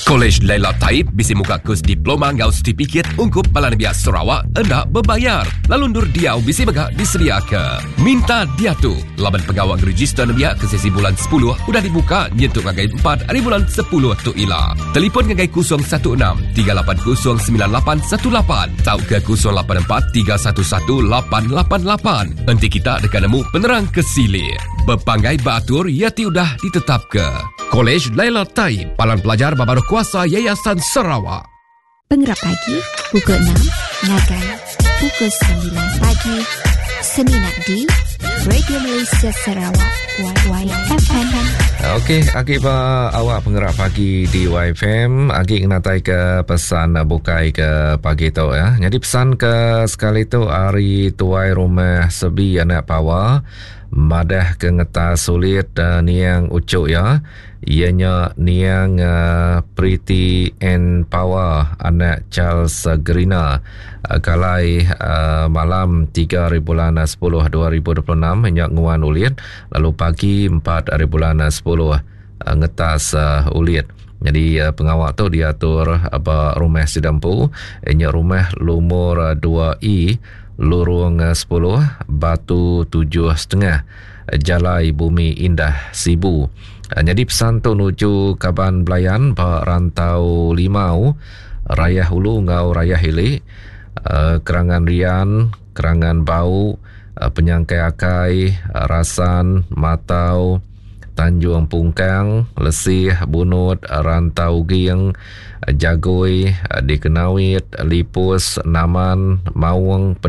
Kolej Laila Taib bisi muka kus diploma enggau setipikit ungkup bala nembiak Sarawak enda bebayar lalu endur diau bisi mega disediaka. Minta diatu laban pengawa ngerejister nembiak ke sesi bulan sepuluh udah dibuka nyentuk ngagai empat ari bulan sepuluh tu ila. Telipon ngagai 016 380 9818 tauka 084 311 888 enti kita deka nemu penerang ke silik. Bepanggai ba atur iya ti udah ditetapka. Kolej Laila Taib, Palan Pelajar ba Baruh Kuasa Yayasan Sarawak. Pengerap pagi pukul 6 ngagai pukul 9 pagi semina di Radio Malaysia Sarawak YFM. Okey, agi ba awak pengerap pagi di YFM, agi ngenatai ke pesan bukai ke pagi tu ya. Jadi pesan ke sekali tu ari tuai rumah Sebi anak Pawa Madah ke ngetas sulit niang uchu iya, iya nya niang Pretty Ann Pawa anak Charles Gerina kalai malam tiga hari bulan sepuluh 2026 nya nguan ulit lalu pagi empat hari bulan sepuluh ngetas ulit. Nyadi pengawa tu diatur ba rumah sida empu nya rumah lumur dua E Lurung sepuluh, Batu tujuh setengah, Jalai Bumi Indah, Sibu. Nyadi pesan tu nuju kaban belayan ba Rantau Limau, Rayah Ulu enggau Rayah Ili, Kerangan Rian, Kerangan Bau, Penyangkai Akai, Rasan, Matau, Tanjung Pungkang, Lesih, Bunut, Rantau Uging, Jagoi, Dikenawit, Lipus, Naman, Maung, Pedang.